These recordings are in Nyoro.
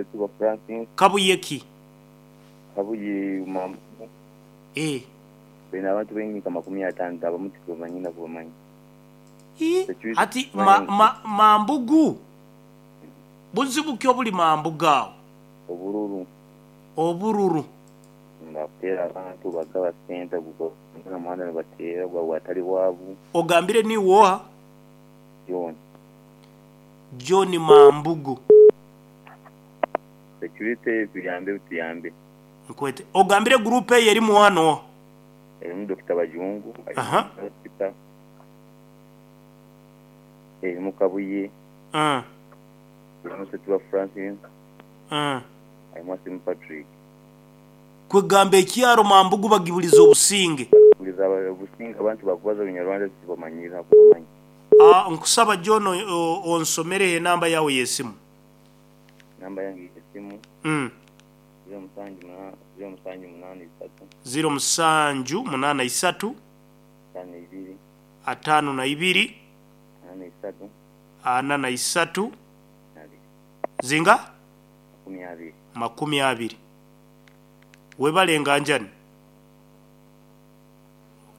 Ssetuba Francis. Kabuye ki? Kabuye Mambugu. Eeh. Baine abantu baingi nka 50 abamu titubamanyi na kubamanya. Ii, Hati ma, ma, Mambugu? Buzibu ki obuli Mambugu agho? Obururu. Obururu. Bakuteera abantu bagaba sente omu muhanda nibateera gwa atali waabu. Ogambire niiwe oha? John. John Mambugu. Security tuyambe butuyambe. Nkwete. Ogambire group eyo erimu oha n'oha? Erimu Dokita Bajungu, erimu Peter, erimu Kabuye, erimu Ssetuba Francis, erimu Asimu Patrick. Kwegamba ekyaro Mambugu bagibuliza obusinge. Bagibuliza obusinge abantu bakubaza orunyarwanda tibamanyire hakubamanya. Nkusaba John onsomereho enamba yawe y'esimu. Enamba yange y'esimu 0783. 0783. 52. 52. 43. 43. Zinga? 20. 20. Webale nganjani.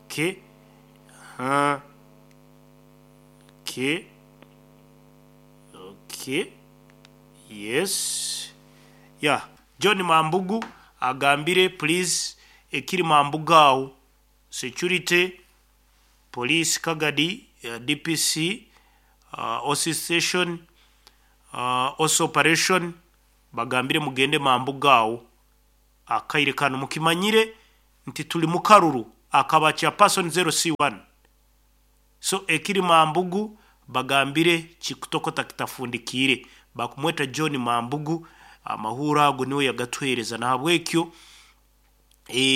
Okay. Aha. Okay. Okay. Yes. Yeah. John Mambugu agambire please ekiri Mambugu agho security, police Kagadi, DPC, OC station, OC operation bagambire mugende Mambugu agho akaire kanu mukimanyire nti tuli mukaruru akaba chairperson 0C1 so ekiri Mambugu bagambire kikutokota kitafundikiire bakumweta John Mambugu amahuuro ago niwe yagatuheereza nahabwekyo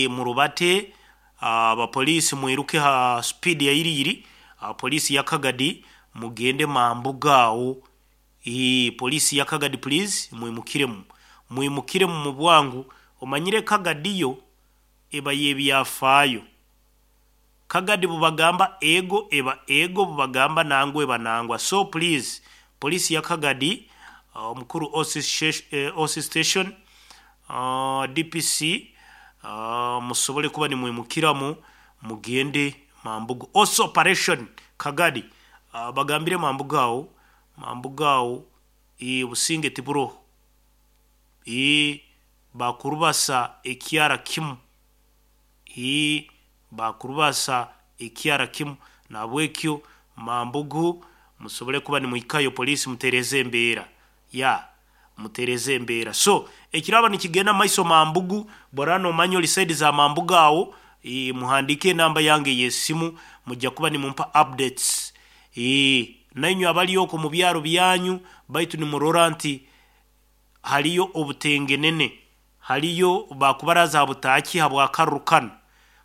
murubate abapoliisi mwiruke ha speed ya iriiri poliisi ya Kagadi mugende Mambugu agho poliisi ya Kagadi please mwimukiremu mwimukiremu mu bwangu omanyire Kagadi yo eba y'ebyafaayo Kagadi bwebagamba ego eba ego bwebagamba nangwa eba nangwa so please poliisi ya Kagadi omukuru OC station DPC musobole kuba nimwimukiramu mugende Mambugu OC operation Kagadi bagambire Mambugu agho Mambugu agho obusinge tiburoho bakurubasa ekyara kimu Baakurubasa ekyara kimu. Nahabwekyo Mambugu musobole kuba nimuhikayo poliisi mutereeze embeera. Yeah, mutereeze embeera. So, ekiraaba nikigenda mu maiso Mambugu, bw'oraaba noomanya ori saidi za Mambugu aho, muhandiike enamba yange ey'esimu, mujja kuba nimumpa updates. Nainywe abali okwo mu byaro byanyu, baitu nimurora nti hariyo obutengenene, hariyo baakubaraza ha butaaki habw'akaruru kanu,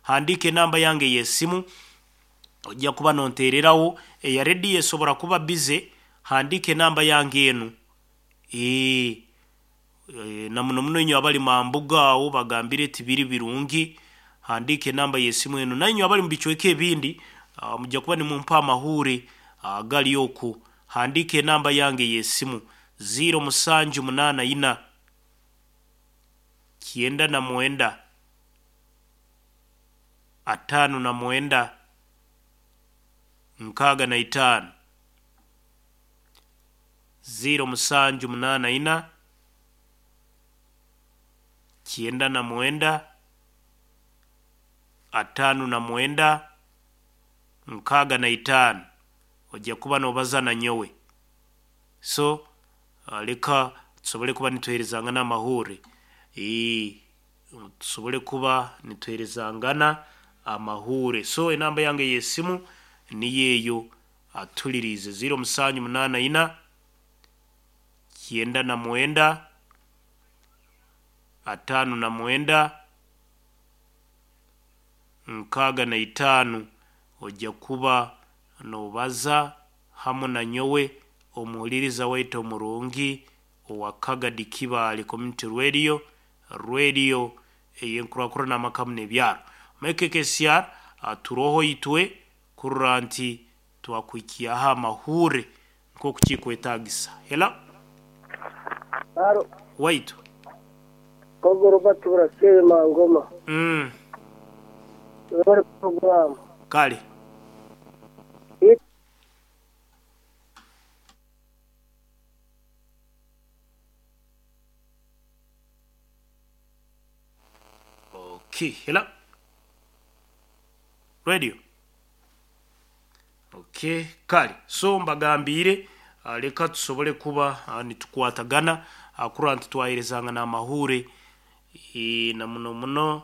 handiika enamba yange ey'esimu, ojja kuba nonteereraho, eya rediyo esobora kuba bize, handiika enamba yange enu. Na muno muno inywe abali Mambuga aho bagambire tibiri birungi, handiika enamba y'esimu enu. Nainywe abali mu bicweka ebindi, mujja kuba nimumpa amahuure agali oku. Handiika enamba yange ey'esimu, 0784 99 59 65. 0784 99 59 65 ojja kuba noobaza na nyowe. So leka tusobole kuba nituheerezangana amahuure. Tusobole kuba nituheerezangana amahuure. So enamba yange ey'esimu niyo eyo atuliriize 0784 99 59 65 ojja kuba noobaza hamu na nyowe omuhuliriza waitu omurungi owa Kagadi Kibaale Community Radio, radio ey'enkurakurana amaka hamu n'ebyaro. Mike KCR turoho itwe kurora nti twakuhikyaho amahuure nk'oku kikwetaagisa. Hello. Haro. Waitu. Kogo Robert Burasebe Mangoma. Bari program. Kale. Okay, hello. Radio. Okay, kale. So mbagambire leka tusobole kuba nitukwatagana kurora nti twaherezanga n'amahure na muno muno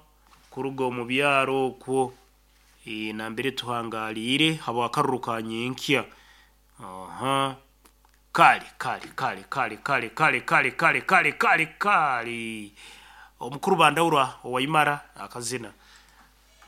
kuruga omu byaro okwo nambere tuhangaliire habwakaruru ka nyenkya. Aha. Kale kale kale kale kale kale kale kale kale kale kale. Omukuru Bandaura owaimara akazina.